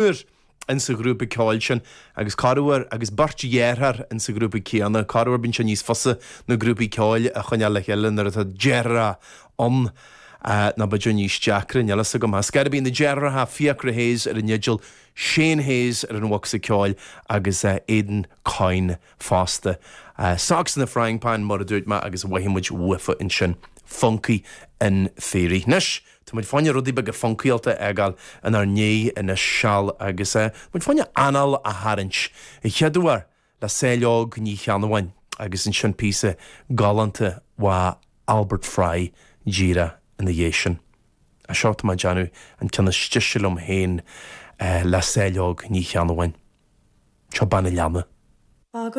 Triúr insa ghrúpa ceoil sin agus corruair agus beirt dheartháir insa ghrúpa céanna. Corruair bíonn sé níos fusa na grúpaí ceoil a choinneáil le chéile nuair atá deartháireacha ann nó b'fhéidir níos deacra, níl fhios agam. Ar scor ar bith, na deartháireacha Fiachra Hayes ar an fhidil, Shane Hayes ar an bhocsa ceoil agus Aidan Coyne fosta. Socks in the Frying Pan mar a dúirt mé agus mhothaigh muid uafa ansin. Funky in Theory. Anois! Tá muid fá choinne rudaí beaga funcaíolta a fhágáil inár ndiaidh anois seal agus muid fá choinne anáil a tharraingt an chéad uair le Saileog Ní Cheannabháin agus ansin píosa galánta ó Albert Fry díreach ina dhiaidh sin. Seo tá mé ag déanamh an ceann is deise liom féin le Saileog Ní Cheannabháin. Seo Bean an Leanna.